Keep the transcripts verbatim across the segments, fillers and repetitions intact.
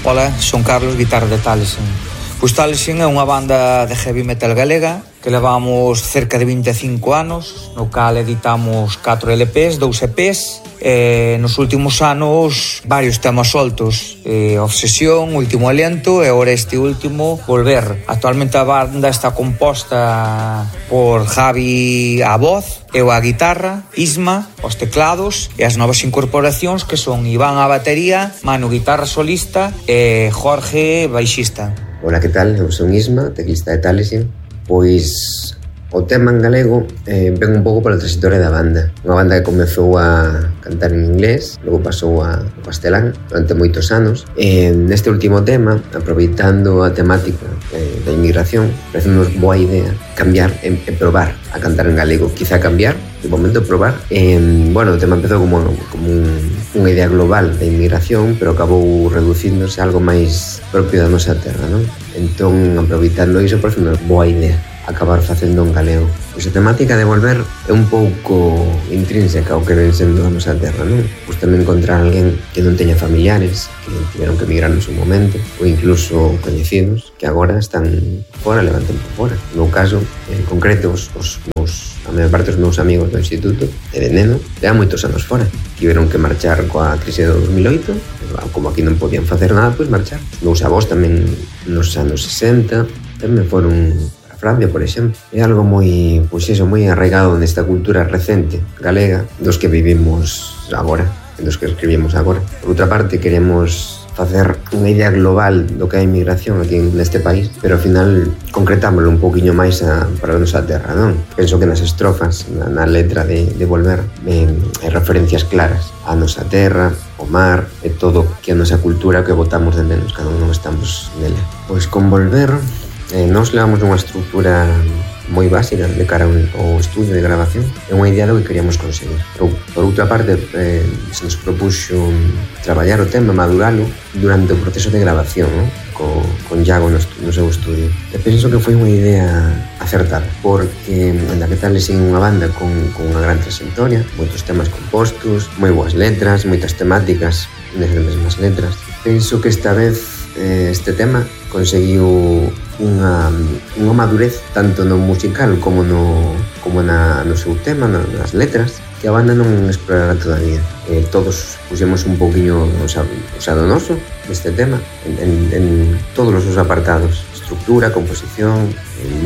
Ola, son Carlos, guitarra de Taliesin. Pois Taliesin é unha banda de heavy metal galega que levamos cerca de vinte e cinco anos, no cal editamos catro L Ps, dous E Ps, e nos últimos anos varios temas soltos, e Obsesión, Último Aliento e agora este último, Volver. Actualmente a banda está composta por Javi a voz, eu a guitarra, Isma os teclados e as novas incorporacións que son Iván a batería, Manu guitarra solista e Jorge baixista. Ola, que tal? Eu son Isma, teclista de Taliesin. Pois o tema en galego eh, ven un pouco pola trayectoria da banda. Unha banda que comezou a cantar en inglés, logo pasou a castelán durante moitos anos. E neste último tema, aproveitando a temática eh, da inmigración, parece-nos boa idea cambiar e, e probar a cantar en galego. Quizá cambiar, de momento probar. E, bueno, o tema empezou como, como un, unha idea global da inmigración, pero acabou reducíndose a algo máis propio da nosa terra, non? Entón, aproveitando iso, parece unha boa idea acabar facendo en galego. Pois a temática de volver é un pouco intrínseca ao que ven sendo a nosa terra, non? Pois tamén encontrar alguén que non teña familiares, que tiveron que emigrar no seu momento, ou incluso coñecidos, que agora están fora, levanten por fora. No meu caso, en concreto, os, os meus, a maior parte dos meus amigos do instituto, de neno, levan moitos anos fora. Tiveron que marchar coa crise do dos mil oito, como aquí non podían facer nada, pois marchar. Os meus avós tamén nos anos sesenta, tamén foron a Francia, por exemplo. É algo moi, pois eso, moi arraigado nesta cultura recente galega dos que vivimos agora, dos que escribimos agora. Por outra parte, queremos facer unha idea global do que é a inmigración aquí neste país, pero ao final concretámoslo un poquinho máis a, para a nosa terra, non? Penso que nas estrofas, na, na letra de, de Volver, eh, hai referencias claras a nosa terra, o mar, e todo que a nosa cultura que botamos de menos cando non estamos nela. Pois con Volver, eh, nos levamos unha estrutura moi básica de cara ao estudio de grabación. É unha idea do que queríamos conseguir. Por, por outra parte, eh, se nos propuxo traballar o tema, maduralo durante o proceso de grabación, ¿no? Co, con Iago no, no seu estudio. E penso que foi unha idea acertada, porque en la que Taliesin unha banda con, con unha gran trayectoria, moitos temas compostos, moi boas letras, moitas temáticas nesas mesmas letras. Penso que esta vez este tema conseguiu unha, unha madurez tanto no musical como no, como na, no seu tema, nas letras, que a banda non explorará todavía. Eh, todos puxemos un pouquiño usado noso deste tema en, en, en todos os seus apartados, estructura, composición,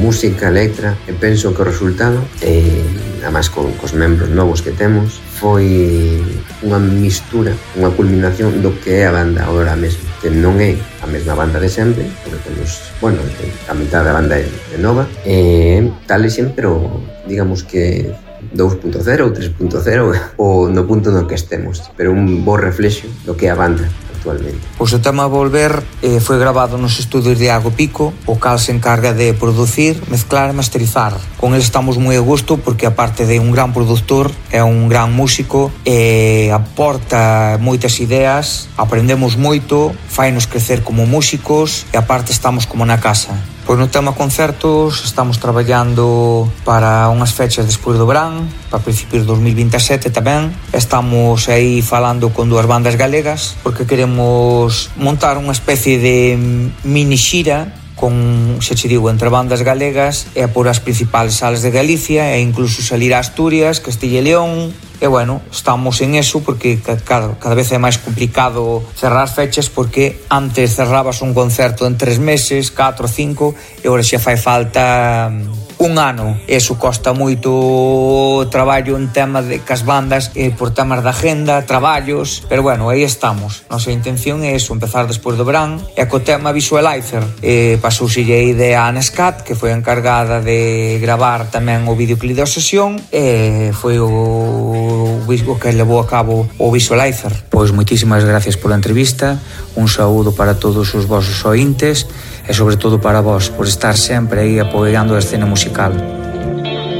música, letra, e penso que o resultado, eh, además con, cos membros novos que temos, foi unha mistura, unha culminación do que é a banda agora mesmo, que non é a mesma banda de sempre, porque temos, bueno, a mitad da banda é nova, e Taliesin, pero digamos que dos punto cero ou tres punto cero ou no punto no que estemos, pero un bo reflexo do que é a banda actualmente. Pois o tema Volver eh, foi grabado nos estudios de Iago Pico, o cal se encarga de producir, mezclar e masterizar. Con ele estamos moi a gusto porque aparte de un gran productor, é un gran músico e aporta moitas ideas, aprendemos moito, fainos crecer como músicos e aparte estamos como na casa. Pois no tema concertos estamos traballando para unhas fechas despois do verán, para principios de dos mil vinte e sete tamén. Estamos aí falando con dúas bandas galegas porque queremos montar unha especie de mini xira con, xa che digo, entre bandas galegas e por as principales salas de Galicia e incluso salir a Asturias, Castilla e León. E bueno, estamos en eso porque cada, cada vez é máis complicado cerrar fechas porque antes cerrabas un concerto en tres meses, catro, cinco e agora xa fai falta un ano. Eso costa moito traballo en tema de cas bandas eh, por temas de agenda, traballos, pero bueno, aí estamos. Nosa intención é eso, empezar despois do verán e co tema Visualizer eh, pasouse a idea a Nescat, que foi encargada de gravar tamén o videoclip da sesión e foi o o que levou a cabo o Visualizer. Pois moitísimas gracias pola entrevista, un saúdo para todos os vosos ointes e sobre todo para vos por estar sempre aí apoiando a escena musical.